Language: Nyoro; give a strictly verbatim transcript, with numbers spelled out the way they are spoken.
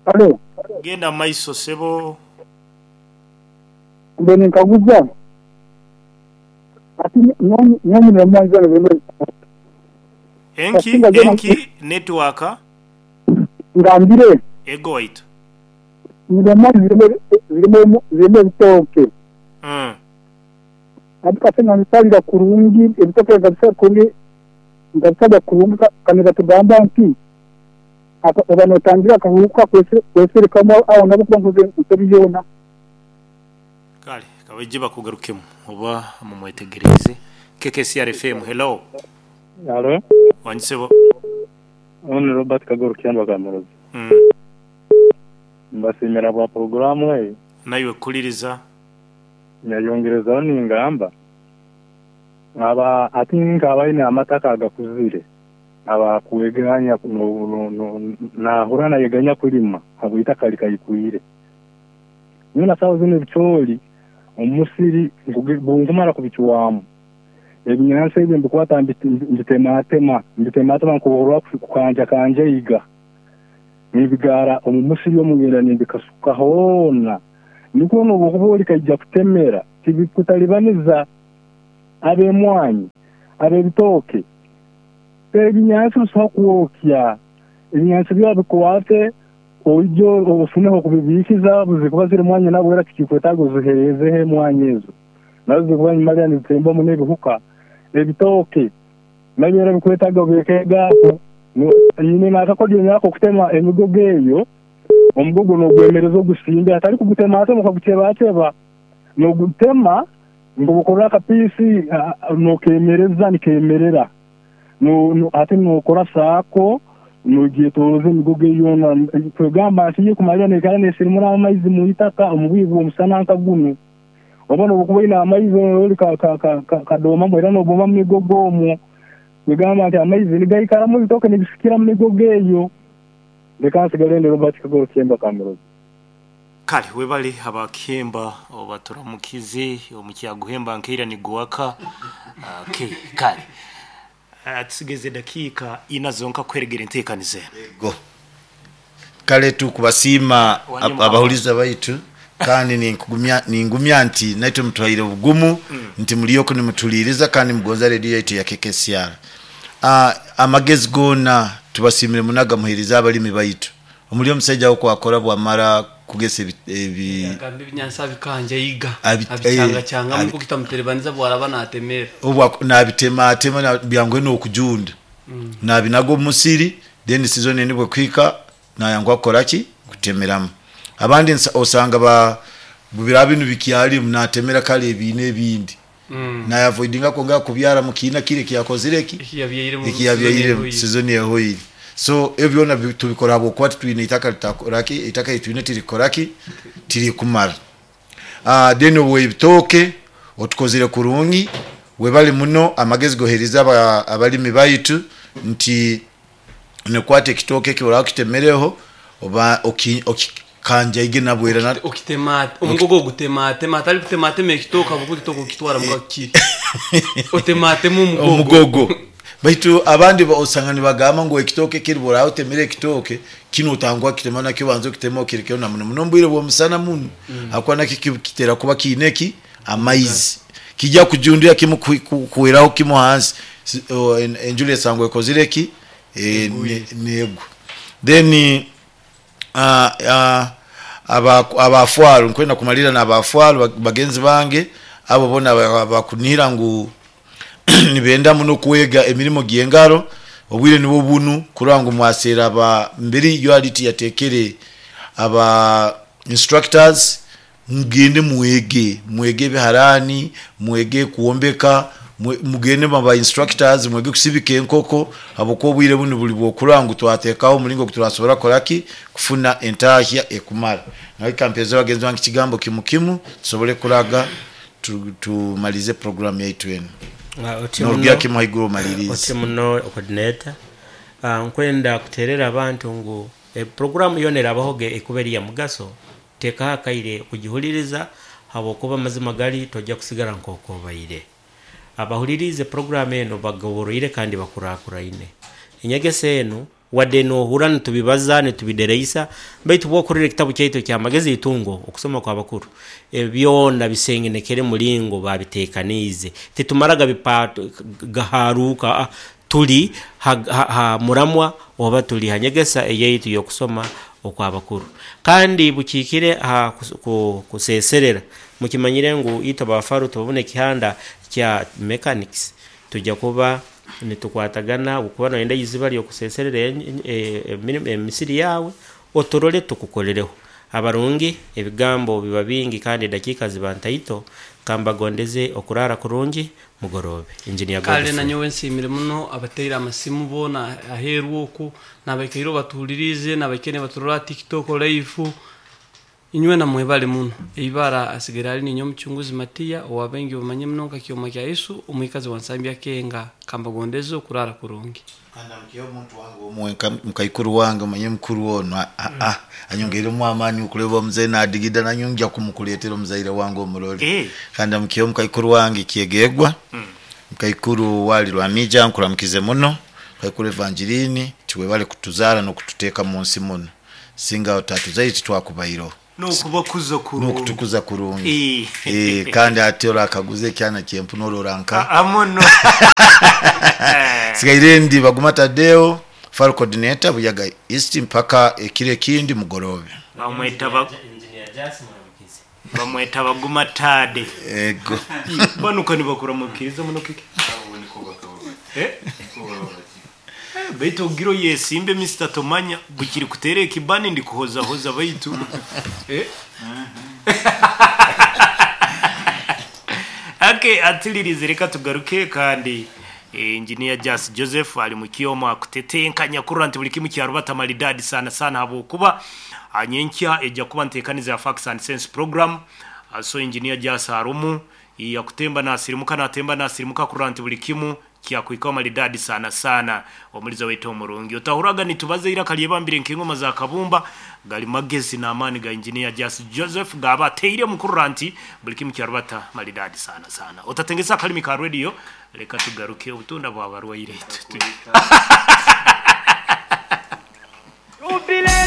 Alo, Genda maiso sebo. Mbe ninkaguza ati nyonyi nemwanyi zona zirimu. Enki Kasinga zona- enki network. Ngambire. Ego waitu. Nemwanyi zirimu zirimu zirimu ebitooke. Mm. Ati kasinga nsalira kurungi ebitooke nkabisala kurungi nkabisala kurungi kandi batugamba nti aka- oba notangira akahuka kweserekamu aho nabo kuba nkoze nsobi yoona. Kale kabaije bakugarukemu oba mumwetegereze. K K C R F M, hello. Halo. Wanjisebo. Ono Robert Kagoro Kyandwa Kamurozi. Mm. Mbasimira bwa programu eyi. Nawe kuliriza. Nyayongerezaho ningamba aba ati nkabaine amataka agakuzire aba kuweganya no, no, no, nahura nayeganya kulima habwitaka likayikwire nyuna sawa zino ebicoori omusiri bungumara kubicuwamu ebinyansi ebyo mbikwata mbitematema mbitematema nkuborwa kukanja kanja iga nibigara omu musiri omugenda nimbikasuka hoona niko nobukuba kaija kutemera tibikutalibaniza abemwanyi abebitoke ebinyansi bisobola kwokya ebinyansi byabikwate oijo ofuneho kubibikiza buzikuba ziri mwanya nabo era tikikwetaaga oziherezeho emwanyi ezo nazo zikuba nyuma nizitembamu n'ebihuka ebitoke nabyo era bikwetaaga obirekegaako nyine nakakodyo nako okutema emigogo eyo omugogo n'ogwemereza ogusimbe atari kugutematema okagutebateba n'ogutema ngubukora akapiisi nokemereza nikemerera ate nokora saako nogyetoroza emigogo eyona kwegamba nti ye kumalira nekara nesirimura amaizi mu itaka omu bwire bw'omusana nka gunu oba nobukuba oine amaizi ori kadomamu era noboma mu migogo omwo kwegamba nti amaizi nigaikaramu ebitooke nibisikira mu migogo eyo. Leka nsigale ndi Robert Kagoro Kyemba Kamurozi. Kale webale abakemba obaturamukize omukyaguhemba nkeira niguwaka. Okay, kale uh, tusigeze dakika ina zonka kweregera enteekanize. Go. Kale tukubasiima abahuliza baitu kandi ninkugumya ningumya nti naitwe mutwaire obugumu mm. nti muliyoko nimutuliriza kandi mugonza radio yaitu ya K K C R. Uh, amagezi gona tubasimire munaga muhiriza abalimi baitu. Omuli omusajja wo kwakora bwamara kugesa ebi agambe ebinyansi abikanja yiga abichanga changa muko kitamuterebaniza bwaraba natemera obwa nabitema atema byangwe n'okujunda mm. nabinago musiri then season nibwe kwika nayangwa koraki kutemeramu abandi osanga ba bubira binu bikyali munatemera kale ebine ebindi mm. na avoidinga konga kubyara mukina kire kiyakozireki ikiyabyaire season yehoyiri. So ebyona tubikora abo kwati twine itaka litakoraki itaka itwine tirikoraki tiri kumara. Ah then obwe ebitoke otukozire kurungi webali muno amagezi gohereza abalimi baitu nti nekwate ekitoke kibora kitemereho oba okikanja ige nabwera na okitema omugogo gutema tema atali kutema tema ekitoka buko kitoko kitwara mukakiri otema tema omugogo omugogo baitu abandi osanga nibagamba ngo ekitoke kiribora otemere ekitoke kino otangwa kitema nakyo banzo kitema okirekeo na muno muno mbwire bw'omusana muno mm. akwana kikitera kuba kineki amaizi kijja kujundira kimu kuweraho kimu hansi enjule sangwe kozireki e, nego then uh, uh, aba abafwaru nkwenda kumalira na abafwaru bagenzi bange abo bona bakunira ngu nibenda muno kuwega emirimo gyengaro obwire nibo bunu kurango mwasera aba mbiri U R T yatekere aba instructors mugende mwege mwege biharani mwege kuombeka mugende maba instructors mwege kusibika enkoko aboko obwire bunu buli bwokurango twatekaho mulingo kuturasobora koraki kufuna entahya ekumara nawe kampeza bagenzi bange kigambo kimukimu tusobole kuraga tumalize program yaitu eno. Norugya kimuhaiguru malirize. Oti muno coordinator uh, nkwenda kuterera abantu ngu e programu yone rabahoge ekuberi ya mugaso teka hakaire kugihuliriza habokuba mazima gali tojja kusigara nkoko baire abahulirize programu eno bagoboroire kandi bakurakuraine enyegese eno Wadde nohura nitubibaza nitubidereisa, baitu bwokurira ekitabu kyaitu ekyamagezi itungo okusoma kwa bakuru, byona bisengenekere mulingo babitekaniize. Titumaraga bipato gaharuka, tuli ha, ha, ha muramwa oba tuli hanyegesa eyaitu y'okusoma okwabakuru. Kandi bukiikire ha kuseserera, mukimanyire ngu itwe abafaru tubabona ekihanda kya mechanics, tujja kuba nitukwatagana okuba noyenda iziba ly'okuseserera emisiri yawe oturole tukukolereho. Abarungi ebigambo biba bingi kandi edakiika ziba ntaito, kambagondeze okurara kurungi mugorobe. Engineer Kale Godfrey. Nanyowe nsiimire muno abateire amasimu boona aheeru oku, n'abaikaire batuhuliriize, n'abaikaire nibaturora TikTok live, inywe namwebale muno. Eibara asigaire ali ninyo omucunguzi Matiya owabaingi bamanye muno nka Kyoma kya Yesu, omwikazi wa Nsambya Kenga. Kambagondeze okurara kurungi. Kanda omuntu wange omwe mukaikuru wange manye mukuru ono ah, ah, anyongeiremu amaani okuleba omuzaire nadigida nanyongya kumukuleetera omuzaire wange omurole. Eh. Kandi mukiyo mukaikuru wange kyegegwa mukaikuru wali Lwamija nkuramukize muno mukaikuru Evangeline tiwebale kutuzaara n'okututeeka mu nsi muno, singa otatuzaire titwakubaireho. N'okubakuza kurungi. N'okutukuza kurungi. Eh. Eh, kandi ate orakaguza ekyana kyempuna orora nka amono. Sigaire ndi Baguma Tadeo, far coordinator Buyaga East mpaka ekiro ekindi mugorobe. Bamweta ba- Engineer Jas muramukize. Bamweta Baguma Tade. Ego. Banuka nibakuramukiriza muno kiki. Eh? Eh, baitu ogiro yesimbe Mister Tomanya bukiri kuteera ekibani ndi kuhozahoza baitu. Eh? Ake atilirize reka tugaruke kandi Engineer Jas Joseph ali mu kioma akutetenkanya kurra nti buli kimu kyarubata maridadi sana sana, habwokuba anyenkya ejja kuba ntekaniza ya Facts and Sense program. So Engineer Jas arumu yakutemba nasirimuka natemba nasirimuka kurra nti buli kimu kyakwika maridadi sana sana. Omuliza wetu omurungi otahuraga nitubaze ira kalyebambire nk'engoma za kabumba gali magezi n'amaani ga Engineer Jas Joseph gaba ateire mukurra nti buli kimu kyarubata maridadi sana sana. Otatengesa akalimi ka radio, reka tugaruke obutunda bw'abarwaire.